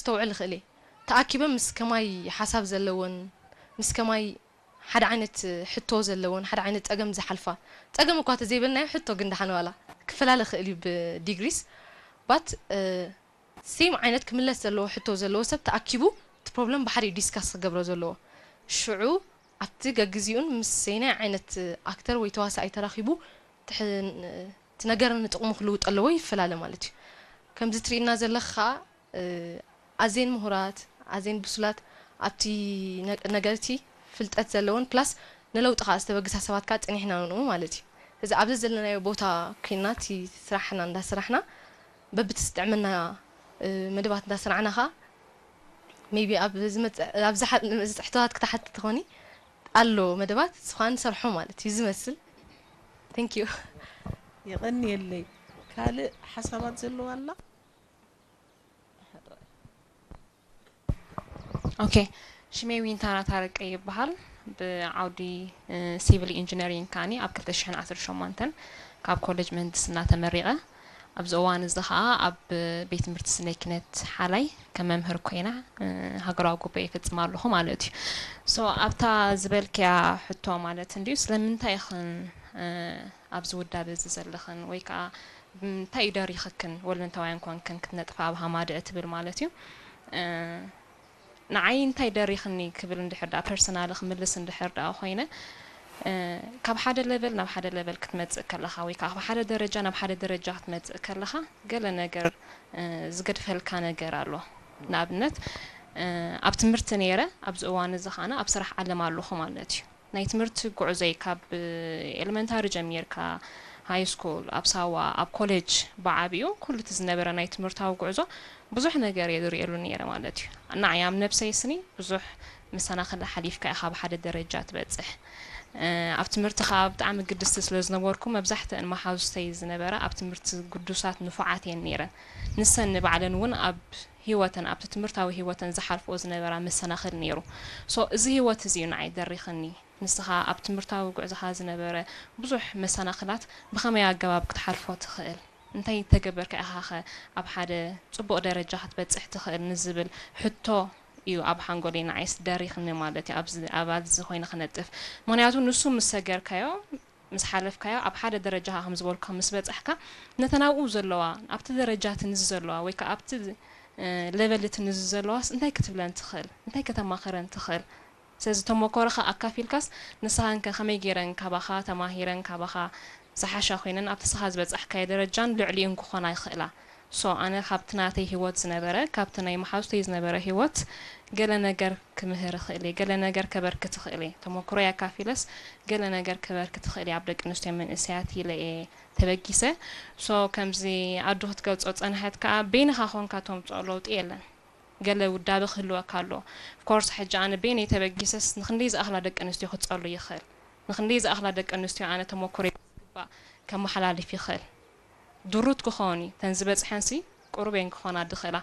ክስተውዕል ይኽእል እየ። ተኣኪበን ምስ ከማይ ሓሳብ ዘለወን፣ ምስ ከማይ ሓደ ዓይነት ሕቶ ዘለወን፣ ሓደ ዓይነት ጸገም ዝሓልፋ፣ ጸገም እኳ ተዘይበልናዮ፣ ሕቶ ግን ደሓን ዋላ ክፈላለ ይኽእል እዩ ብዲግሪስ። ባት ሴም ዓይነት ክምለስ ዘለዎ ሕቶ ዘለዎ ሰብ ተኣኪቡ እቲ ፕሮብለም ብሓደ ዲስካስ ክገብሮ ዘለዎ። ሽዑ ኣብቲ ገግዚኡን ምስ ሰይናይ ዓይነት ኣክተር ወይ ተዋሳኣይ ተራኺቡ እቲ ነገር ንጥቕሙ ክልውጥ ኣለዎ ይፈላለ ማለት እዩ። ከምዚ ትርእና ዘለኻ ኣዜን ምሁራት ኣዜን ብሱላት ኣብቲ ነገርቲ ፍልጠት ዘለውን ፕላስ ንለውጢ ከዓ ዝተበግሳ ሰባት ከዓ ፅኒሕና ንኡ ማለት እዩ። እዚ ኣብዚ ዘለናዮ ቦታ ኮይና እቲ ስራሕና እንዳስራሕና በብቲ ዝጥዕመና መደባት እንዳሰራዕና ከዓ maybe ኣብ ዝመፅእ ኣብዚ ዝመፅእ ሕቶታት ክትሓትት ትኾኒ ኣሎ መደባት ስኻ ንሰርሖ ማለት እዩ ዝመስል። Thank you። የቐንየለይ። ካልእ ሓሳባት ዘለዋ ኣላ? ኦኬ፣ ሽመይ ዊንታና ታረቀ ይበሃል። ብዓውዲ ሲቪል ኢንጂነሪንግ ካኒ ኣብ ክልተ ሽሕን ዓሰርተ ሸሞንተን ካብ ኮሌጅ ምህንድስና ተመሪቐ። ኣብዚ እዋን እዚ ኸዓ ኣብ ቤት ትምህርቲ ስነ ኪነት ሓላይ ከም መምህር ኮይና ሃገራዊ ጉባኤ ይፍጽም ኣለኹ ማለት እዩ። ሶ ኣብታ ዝበልክያ ሕቶ ማለት እንድዩ ስለምንታይ ኢኽን ኣብዚ ውዳበ እዚ ዘለኽን ወይ ከዓ እንታይ እዩ ደሪኽክን ወለንታውያን ኮንክን ክትነጥፋ ኣብ ሃማደአ ትብል ማለት እዩ። ንዓይ እንታይ ደሪኽኒ ክብል እንድሕር ደኣ ፐርሰናሊ ክምልስ እንድሕር ደኣ ኮይነ ካብ ሓደ ሌቨል ናብ ሓደ ሌቨል ክትመጽእ ከለኻ ወይ ከዓ ካብ ሓደ ደረጃ ናብ ሓደ ደረጃ ክትመጽእ ከለኻ ገለ ነገር ዝገድፈልካ ነገር ኣሎ። ንኣብነት ኣብ ትምህርቲ ነይረ ኣብዚ እዋን እዚ ኸዓና ኣብ ስራሕ ዓለም ኣለኹ ማለት እዩ። ናይ ትምህርቲ ጉዕዞይ ካብ ኤለመንታሪ ጀሚርካ ሃይ ስኩል ኣብ ሳዋ ኣብ ኮሌጅ ብዓቢኡ ኩሉ እቲ ዝነበረ ናይ ትምህርታዊ ጉዕዞ ብዙሕ ነገር እየ ዝርእየሉ ነይረ ማለት እዩ። ንዓይ ኣብ ነብሰይ ስኒ ብዙሕ መሰናኽል ሓሊፍካ ኢኻ ኣብ ሓደ ደረጃ ትበጽሕ። ኣብ ትምህርቲ ከዓ ብጣዕሚ ግድስቲ ስለ ዝነበርኩ መብዛሕትአን መሓዙተይ ዝነበራ ኣብ ትምህርቲ ግዱሳት ንፉዓት እየን ነይረን። ንሰን ንባዕለን እውን ኣብ ህይወተን ኣብቲ ትምህርታዊ ህይወተን ዝሓልፍኦ ዝነበራ መሰናኽል ነይሩ። ሶ እዚ ህይወት እዚ እዩ ንዓይ ደሪኽኒ። ንስኻ ኣብ ትምህርታዊ ጉዕዞኻ ዝነበረ ብዙሕ መሰናኽላት ብኸመይ ኣገባብ ክትሓልፎ ትኽእል? እንታይ እንተገበርካ ኢኻ ኸ ኣብ ሓደ ጽቡቕ ደረጃ ክትበጽሕ ትኽእል ንዝብል ሕቶ እዩ ኣብ ሓንጎለይ ንዓይስ ደሪኽኒ ማለት እዩ ኣብዚ ኣባዚ ኮይነ ክነጥፍ። ምኽንያቱ ንሱ ምስ ሰገርካዮ ምስ ሓለፍካዮ ኣብ ሓደ ደረጃኻ ከም ዝበልኩ ምስ በጻሕካ ነተን ኣብኡ ዘለዋ ኣብቲ ደረጃ እቲ ንዚ ዘለዋ ወይ ከዓ ኣብቲ ሌቨል እቲ ንዚ ዘለዋስ እንታይ ክትብለን ትኽእል እንታይ ከተማኽረን ትኽእል ስለዚ ተመኮሮኻ ኣካፊልካስ ንስኻን ከ ከመይ ገይረን ካባኻ ተማሂረን ካባኻ ዝሓሻ ኮይነን ኣብቲ ስኻ ዝበጻሕካዮ ደረጃን ልዕሊኡን ክኾና ይኽእላ ሶ ኣነ ካብቲ ናተይ ሂወት ዝነበረ ካብቲ ናይ መሓዙተይ ዝነበረ ሂወት ገለ ነገር ክምህር እኽእል እየ፣ ገለ ነገር ከበርክት እኽእል እየ፣ ተመኩሮይ ኣካፊለስ ገለ ነገር ከበርክት እኽእል እየ ኣብ ደቂ ኣንስትዮ መንእሰያት ኢለ እየ ተበጊሰ። ሶ ከምዚ ኣዱ ክትገልጾ ዝጸንሐት ከኣ በይንኻ ኮንካ ተምጽኦ ለውጢ የለን። ገለ ውዳበ ክህልወካ ኣለዎ። ኦፍኮርስ ሕጂ ኣነ በይነይ ተበጊሰስ ንኽንደይ ዝኣኽላ ደቂ ኣንስትዮ ክጸሉ ይኽእል? ንኽንደይ ዝኣኽላ ደቂ ኣንስትዮ ኣነ ተመኩሮይ ብዝግባእ ከመሓላልፍ ይኽእል? ድሩት ክኾን እዩ። ተን ዝበጽሐንሲ ቁሩብ እየን ክኾና ዝኽእላ።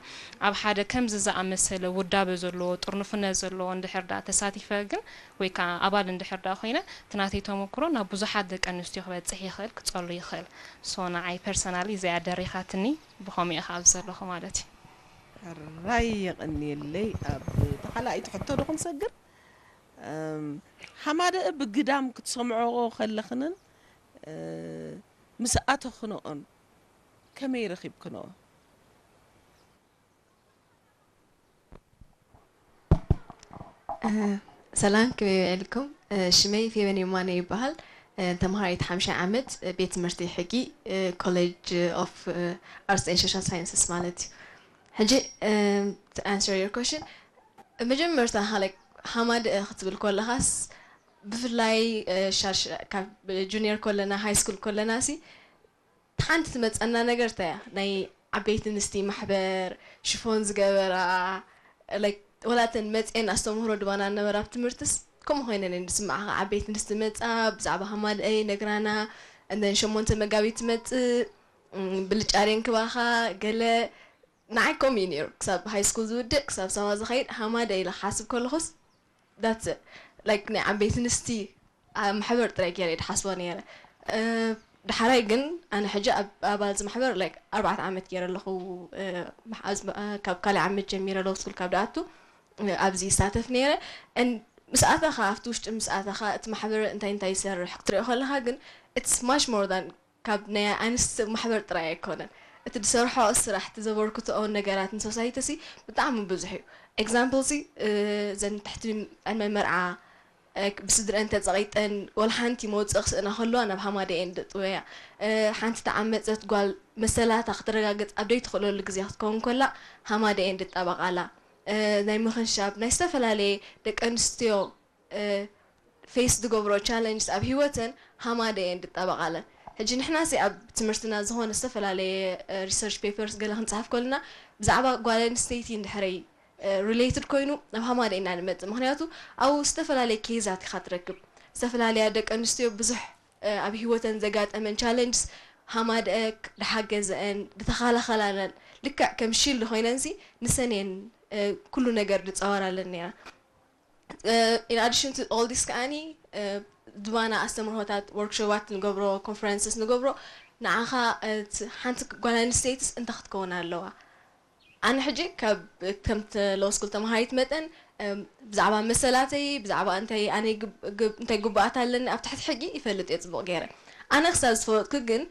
ኣብ ሓደ ከምዚ ዝኣመሰለ ውዳበ ዘለዎ፣ ጥርኑፍነት ዘለዎ እንድሕር ደኣ ተሳቲፈ ግን ወይ ከዓ ኣባል እንድሕር ደኣ ኮይነ፣ እቲ ናተይ ተመኩሮ ናብ ብዙሓት ደቂ ኣንስትዮ ክበጽሕ ይኽእል፣ ክጸሉ ይኽእል። ሶ ንዓይ ፐርሰናሊ እዚኣ ደሪኻትኒ፣ ብኸምኡ እየ ከኣ ኣብዚ ዘለኹ ማለት እዩ። ሕራይ የቐንየለይ። ኣብ ተኻላኢት ሕቶ ዶ ክንሰግር? ሓማደአ ብግዳም ክትሰምዖኦ ከለኽንን ምስ ኣተኽንኦን ከመይ ረኺብክንኦ? ሰላም ከመይ ውዒልኩም? ሽመይ ፌቨን የማነ ይበሃል። ተምሃራይት ሓምሻይ ዓመት ቤት ትምህርቲ ሕጊ ኮሌጅ ኦፍ ኣርትስ ኤንድ ሶሻል ሳይንስስ ማለት እዩ። ሕጂ to answer your question መጀመርታ like ሓማደአ ክትብል ከለኻስ ብፍላይ ካብ ጁኒየር ከለና ሃይ ስኩል ከለና ሲ ሓንቲ ትመፀና ነገር እንታይ እያ ናይ ዓበይቲ ኣንስቲ ማሕበር ሽፎን ዝገበራ like ወላ እተን መፅኤን ኣስተምህሮ ድባና ነበራ ኣብ ትምህርትስ ከምኡ ኮይነን እየን ዝስምዓኻ ዓበይቲ ኣንስቲ መፃ ብዛዕባ ሃማደአ ይነግራና and then ሸሞንተ መጋቢት ትመፅእ ብልጫ ሬንክባኻ ገለ ንዓይ ከምኡ እዩ ነይሩ ክሳብ ሃይ ስኩል ዝውድእ ክሳብ ሳዋ ዝኸይድ ሃማደአ ኢለ ክሓስብ ከለኹስ that's it like ናይ ዓበይቲ ኣንስቲ ማሕበር ጥራይ ገይረ እየ ዝሓስቦ ነይረ ዳሕራይ ግን ኣነ ሕጂ ኣብ ኣባል እዚ ማሕበር like ኣርባዕተ ዓመት ገይረ ኣለኹ። ካብ ካልኣይ ዓመት ጀሚረ ሎው ስኩል ካብ ደኣቱ ኣብዚ ይሳተፍ ነይረ። ምስ ኣተኻ ኣብቲ ውሽጢ ምስ ኣተኻ እቲ ማሕበር እንታይ እንታይ ይሰርሕ ክትሪኦ ከለኻ ግን it's much more than ካብ ናይ ኣንስቲ ማሕበር ጥራይ ኣይኮነን። እቲ ዝሰርሖ ስራሕ እቲ ዘበርክትኦ ነገራት ንሶሳይቲ ሲ ብጣዕሚ ብዙሕ እዩ። ኤግዛምፕል ሲ ዘን ትሕቲ ዕድመ መርዓ ብስድረን ተጸቒጠን ወላ ሓንቲ መውጽኢ ክስእና ከለዋ ናብ ሃማደኤን ድጥወያ። ሓንቲ ተዓመጸት ጓል መሰላታ ክተረጋግጽ ኣብ ደይትኽእለሉ ግዜ ክትከውን ከላ ሃማደኤን ድጣበቓላ። ናይ ምኽንሻብ ናይ ዝተፈላለየ ደቂ ኣንስትዮ ፌስ ዝገብሮ ቻለንጅስ ኣብ ህይወተን ሃማደኤን ድጣበቓለን። ሕጂ ንሕና ሲ ኣብ ትምህርትና ዝኾነ ዝተፈላለየ ሪሰርች ፔፐርስ ገለ ክንጽሓፍ ከለና ብዛዕባ ጓል ኣንስተይቲ እንድሕረይ ሪሌትድ ኮይኑ ናብ ሃማደኤ ኢና ንመጽእ። ምኽንያቱ ኣብኡ ዝተፈላለየ ኬዛት ኢኻ ትረክብ። ዝተፈላለያ ደቂ ኣንስትዮ ብዙሕ ኣብ ህይወተን ዘጋጠመን ቻለንጅስ ሃማደኤ ድሓገዘአን ድተኻላኸላለን ልክዕ ከም ሺልድ ኮይነንሲ ንሰን እየን ኩሉ ነገር ድጻወራለን ነይራ። In addition to all this ከኣኒ ዝባና ኣስተምህሮታት ወርክሾባት ንገብሮ ኮንፈረንስስ ንገብሮ ንዓኻ ሓንቲ ጓል ኣንስተይትስ እንታይ ክትከውን ኣለዋ? ኣነ ሕጂ ካብ ከምቲ ሎው ስኩል ተምሃሪት መጠን ብዛዕባ መሰላተይ ብዛዕባ እንታይ ኣነ እንታይ ግቡኣት ኣለኒ ኣብ ትሕቲ ሕጊ ይፈልጥ እየ ጽቡቕ ገይረ። ኣነ ክሳብ ዝፈለጥኩ ግን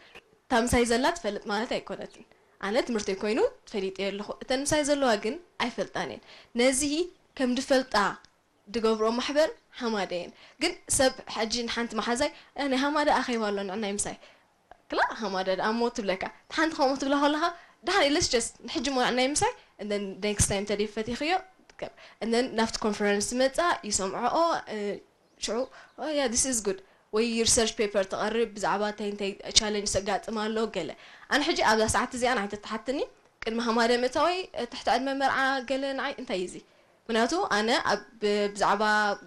እታ ምሳይ ዘላ ትፈልጥ ማለት ኣይኮነትን። ኣነ ትምህርተይ ኮይኑ ፈሊጠ ኣለኹ። እተን ምሳይ ዘለዋ ግን ኣይፈልጣን እየን። ነዚ ከም ድፈልጣ ድገብርኦ ማሕበር ሃማደ እየን። ግን ሰብ ሕጂ ንሓንቲ መሓዛይ "እ፣ ናይ ሃማደ ኣኼባ ኣሎ ንዕናይ ምሳይ" ክላ ሃማደ ደኣ እሞ ትብለካ። ሓንቲ ከምኡ ትብላ ከለኻ ደሓን ኢለስ ጀስት ንሕጂ እሞ ንዕናይ ምሳይ and then next time ተደይ ፈቲኽዮ ትከብ and then ናብቲ ኮንፈረንስ ትመጻ ይሰምዖኦ እ፣ ሽዑ "Oh yeah, this is good" ወይ ሪሰርች ፔፐር ተቐርብ ብዛዕባ እንታይ እንታይ ቻለንጅ ዘጋጥም ኣሎ ገለ። ኣነ ሕጂ ኣብዛ ሰዓት እዚኣ ንዓይ ተተሓትኒ ቅድሚ ሃማደ ምእታወይ ትሕቲ ዕድመ መርዓ ገለ ንዓይ እንታይ እዩ እዚ? ምክንያቱ ኣነ ኣብ ብዛዕባ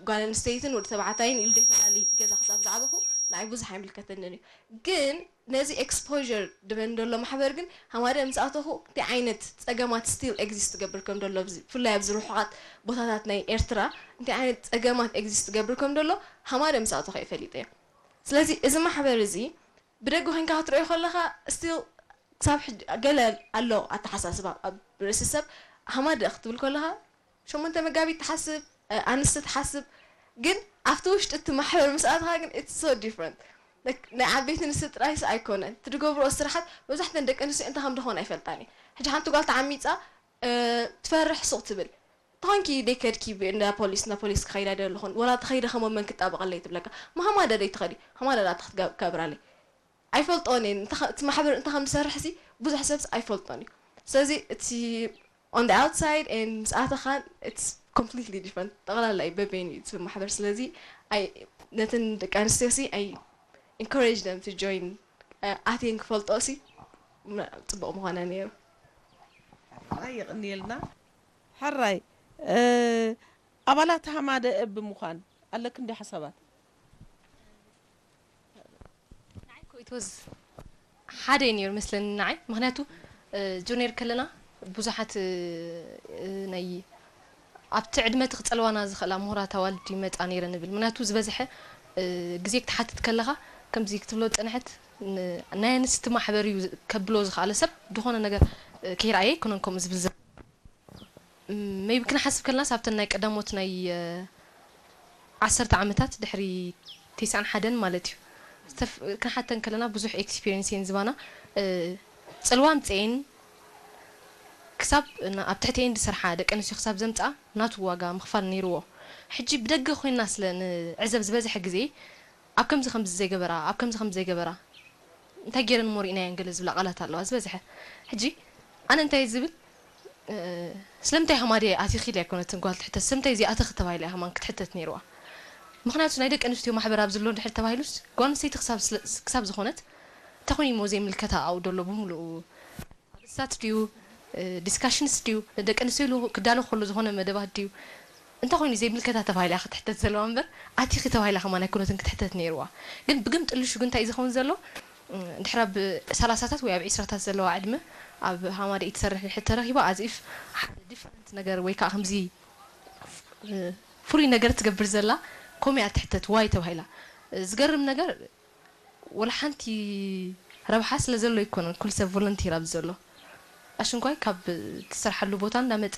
ጓል ኣንስተይትን ወዲ ተባዕታይን ኢሉ ደይፈላለይ ገዛ ክሳብ ዝዓበኹ ንዓይ ብዙሕ ኣይምልከተንን እዩ። ግን ነዚ ኤክስፖር ድበን ዘሎ ማሕበር ግን ሃማደ ምስ ኣተኹ እንታይ ዓይነት ጸገማት ስቲል ኤግዚስት ትገብር ከም ዘሎ ብዚ- ብፍላይ ኣብዚ ርሑቓት ቦታታት ናይ ኤርትራ እንታይ ዓይነት ጸገማት ኤግዚስት ትገብር ከም ዘሎ ሃማደ ምስ ኣተኹ እየ ፈሊጠ። ስለዚ እዚ ማሕበር እዚ ብደገ ኮይንካ ክትሪኦ ከለኻ ስቲል ክሳብ ሕጂ ገለ ኣሎ ኣተሓሳስባ ኣብ ርእሲ ሰብ ሃማደ ክትብል ከለኻ ሸሞንተ መጋቢት ትሓስብ ኣንስቲ ትሓስብ ግን ኣብቲ ውሽጢ እቲ ማሕበር ምስ ኣትኻ ግን it's so different። ናይ ዓበይቲ ኣንስቲ ጥራይስ ኣይኮነን እቲ ድገብርኦ ስራሓት መብዛሕተን ደቂ ኣንስትዮ እንታይ ከም ዝኾነ ኣይፈልጣን እየ። ሕጂ ሓንቲ ጓል ተዓሚፃ ትፈርሕ ሱቕ ትብል ተኾንኪ ደይ ከድኪ እንዳ ፖሊስ እንዳ ፖሊስ ክኸይዳ ደ ኣለኹን ወላ ተኸይደ ከሞ መን ክጣበቐለይ ትብለካ። ማሃማደ ደይ ትኸዲ ሃማደ ዳ ክትከብራለይ ኣይፈልጦን እየን። እቲ ማሕበር እንታይ ከም ዝሰርሕ ሲ ብዙሕ ሰብስ ኣይፈልጦን እዩ። ስለዚ እቲ on the outside and ምስ ኣተኻን it's completely different። ጠቕላላ እዩ በበይኑ እዩ እቲ ማሕበር። ስለዚ ነትን ደቂ ኣንስትዮ ሲ I encourage them to join። ኣትየን ክፈልጦ ሲ ጽቡቕ ምኾነ ነይሩ። የቕንየልና። ሕራይ ኣባላት ሃማደ እብ ምዃን ኣለክ እንዲ ሓሳባት? ንዓይ እኮ it was ሓደ እዩ ነይሩ መስለኒ ንዓይ። ምኽንያቱ እ፣ ጁኒየር ከለና ብዙሓት እ፣ እ፣ ናይ ኣብቲ ዕድመ እቲ ክጸልዋና ዝኽእላ ምሁራት ኣዋልድ ይመጻ ነይረ ንብል። ምኽንያቱ ዝበዝሐ እ፣ ግዜ ክትሓትት ከለኻ ከምዚ ክትብሎ ዝጸንሐት ን- ናይ ኣንስቲ ማሕበር እዩ ዝ- ከብሎ ዝኽኣለ ሰብ ዝኾነ ነገር እ፣ ከይረኣየ ኣይኮነን ከምኡ ዝብል ዘሎ። ሜይቢ ክንሓስብ ከለናስ ኣብተን ናይ ቀዳሞት ናይ ዓሰርተ ዓመታት ድሕሪ ተስዓን ሓደን ማለት እዩ። ክንሓተን ከለና ብዙሕ ኤክስፒሪንስ እየን ዝባና። ጽልዋ ኣምፅኤን ክሳብ ኣብ ትሕቲኤን ዝሰርሓ ደቂ ኣንስትዮ ክሳብ ዘምፅኣ ናቱ ዋጋ ምኽፋል ነይርዎ። ሕጂ ብደገ ኮይና ስለ ንዕዘብ ዝበዝሐ ግዜ ኣብ ከምዚ ከምዚ ዘይገበራ ኣብ ከምዚ ከምዚ ዘይገበራ እንታይ ገይረን እሞ ርኢናየን ገለ ዝብላ ቃላት ኣለዋ ዝበዝሐ። ሕጂ ኣነ እንታይ ዝብል ስለምንታይ ሃማድያ ኣቲኺ ኢላ ኣይኮነትን ጓል ትሕተት ስለምንታይ እዚኣ ኣተኺ ተባሂላ እያ ሃማን ክትሕተት ነይርዋ። ምኽንያቱ ናይ ደቂ ኣንስትዮ ማሕበር ኣብዚ ኣሎ እንድሕር ተባሂሉስ ጓል ኣንስተይቲ ክሳብ ዝኾነት እንታይ ኮይኑ እሞ ዘይምልከታ ኣብኡ ደሎ ብምልኡ ኣርእስታት ድዩ ዲስካሽንስ ድዩ ንደቂ ኣንስትዮ ኢሉ ክዳሎ ከሎ ዝኾነ መደባት ድዩ እንታይ ኮይኑ ዘይምልከታ ተባሂላ እያ ክትሕተት ዘለዋ እምበር ኣቲኺ ተባሂላ ከማን ኣይኮነትን ክትሕተት ነይርዋ። ግን ብግምጥልሹ ግን እንታይ እዩ ዝኸውን ዘሎ ድሕሪ ኣብ ሰላሳታት ወይ ኣብ ዒስራታት ዘለዋ ዕድመ ኣብ ሃማደኢ ትሰርሕ ድሕሪ ተረኺባ as if ሓደ ዲፍረንት ነገር ወይ ከዓ ከምዚ ፍሉይ ነገር ትገብር ዘላ ከምኡ እያ ትሕተት ዋይ ተባሂላ። ዝገርም ነገር ወላ ሓንቲ ረብሓ ስለ ዘሎ ኣይኮነን ኩሉ ሰብ ቮለንቲር ኣብዚ ዘሎ። ኣሽንኳይ ካብ ትሰርሓሉ ቦታ እንዳመፀ